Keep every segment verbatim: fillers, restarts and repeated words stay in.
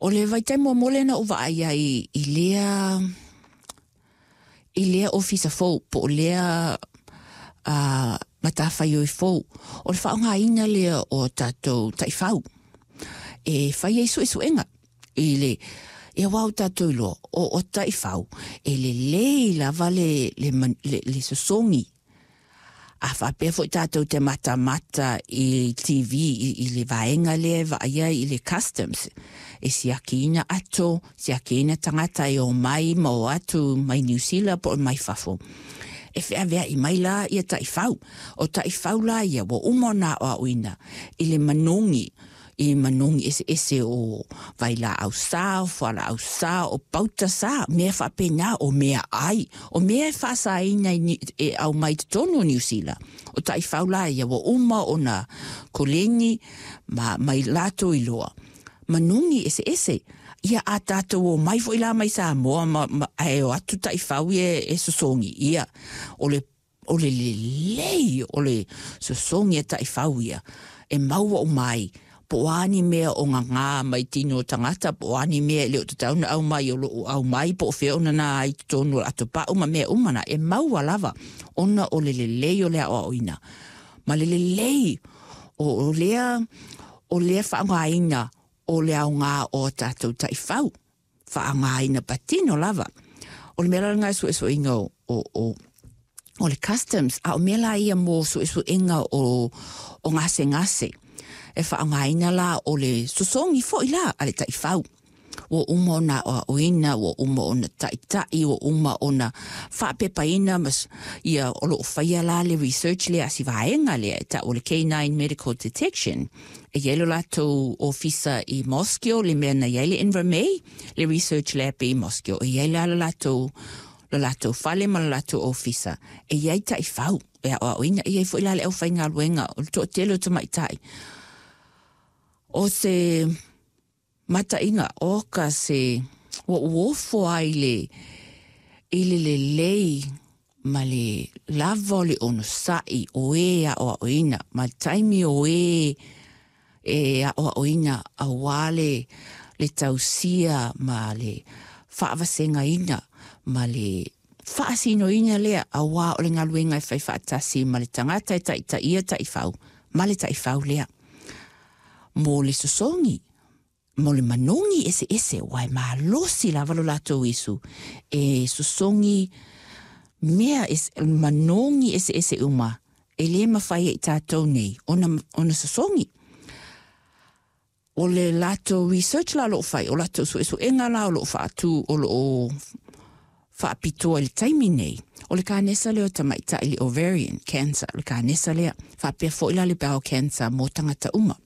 O le vaitaimi muamua lea na ou vaai ai i lea i lea ofisa fou po o lea uh, matafaioi fou, o le faaaogaina lea o tatou taifau e fai ai suesuega i le ia aua ua tatou iloa o, o taifau e lelei lava le, le, le, le sosogi. A faapea foi tatou te matamata i T V i, i le vaega lea e vaaia i le customs e siakiina ato, siakiina tagata e omai ma o atu mai Niu Sila po o mai fafo. E feaveai mai la ia taifau. O taifau la ia ua uma ona aoaoina i le manogi i manogi eseese o vailaau sa, o fualaau sa, o pauta sa, mea faapena, o meaai, o mea e faasaina e aumai totonu o Niu Sila. O taifau la ia ua uma ona koleni ma mai latou iloa manogi eseese. Ia a tatou omai foi la mai Samoa ma, ma, ae o atu taifau ia e sosogi. Ia, o le o le lelei o le sosogi a taifau ia e maua uma ai po o a ni mea o gagā mai tino o tagata, po o a ni mea e le o tatau ona aumai o loo aumai, po o fea o nana ai totonu o le atopau ma mea uma na e maua lava ona o le lelei o le aoaoina ma le lelei o, o lea o lea faaaogaina o le aoga o tatou taifau faaaogaina patino lava. O le mea la lena e suesueina o, o, o o le customs, a o mea la ia mo suesuega o, o gasegase e faaaogaina la o le sosogi foi la a le taifau ua uma ona aoaoina, ua uma ona taʻitaʻi, ua uma ona faapepaina ma ia o loo faia la le research lea a si vaega lea e taʻu o le K nine Medical Detection. E iai lo latou ofisa i Mosgiel, le mea na iai le Invermay, le research lab i Mosgiel. E iai la le latou lo latou fale ma lo latou ofisa. E iai taifau e aoaoina, e iai foi la le aufaigaluega o le toatele o tamaitai. O se mataʻiga oka se ua ou ofo ai le i le lelei ma le lava o le onosaʻi o e aʻoaʻoina ma le taimi o e e aʻoaʻoina auā le le tausia ma le faavasegaina ma le faasinoina lea auā o le galuega e fai faatasi ma le tagata e taʻitaʻia taifau ma le taifau lea mo le sosogi mo le manogi eseese ua e malosi lava lo latou isu e sosogi mea es, manogi eseese uma e lē mafai ai tatou nei ona, ona sosogi. O le latou research la o loo fai, o latou suesuega la o loo faatu o loo faapitoa i le taimi nei, o le kanesa lea o tamaʻitaʻi, le ovarian cancer, le kanesa lea, faapea foi la le bowel cancer mo tagata uma.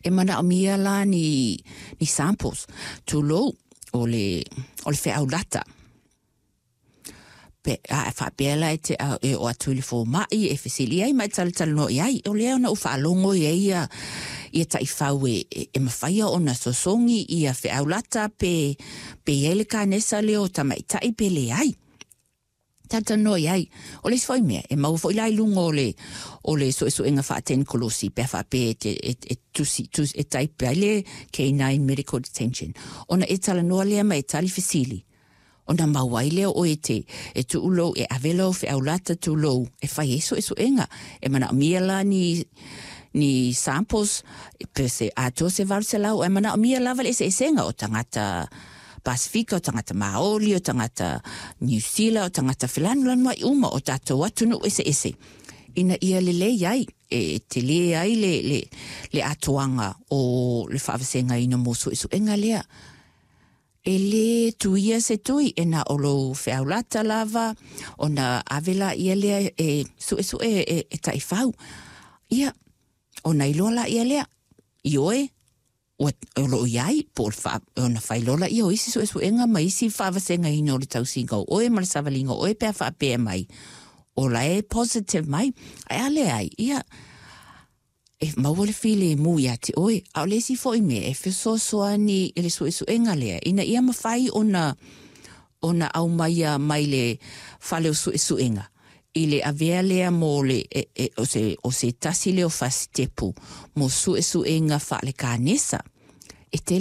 E manaʻomia la ni, ni samples, tulou, o le, o le feaulata pe a faapea la e te e o atu i le fomaʻi e fesili ai ma e talatalanoa i ai o lea ona ou faalogo i ai ia ia taifau e, e, e mafaia ona sosogi ia feaulata pe pe iai le kanesa lea o tamaʻitaʻi pe leai talatalanoa i ai. O le isi foi mea e maua foi la i luga o le o le suesuega faatenikolosi pe a faapea e, te, e, e tusi, tusi e taipe ai le K nine Medical Detention ona e talanoa lea ma e tali fesili ona maua ai lea o e te e tuu lou e ave lou feaulata tulou e fai ai suesuega e manaʻomia la ni ni samples pe se atoa se valu selau e manaʻomia lava le eseesega o tagata Pasifika, o tagata Maoli, o tagata Niu Sila, o tagata felanulanuaʻi uma o tatou atunuu eseese ina ia lelei ai e telē ai le, le, le atoaga o le faavasegaina mo suesuega lea. E lē tuia se tui e na o lou feaulata lava ona ave laia lea e suʻesuʻe e, e taifau. Ia, ona iloa laia lea, i oe, ua o loo iai po o le faa, ona failoa laia o isi suesuega ma isi faavasegaina o le tausiga o oe ma le savaliga o oe pe a faapea mai o la e positive mai. Ae a leai, ia, e maua le filemu iā te oe. A o le isi foi mea e fesoasoani i le suesuega lea, ina ia mafai ona ona aumaia mai le fale o suesuega i le avea lea mo le e, e, o se, o se tasi lea o fasitepu mo suesuega faalekanesa e tele.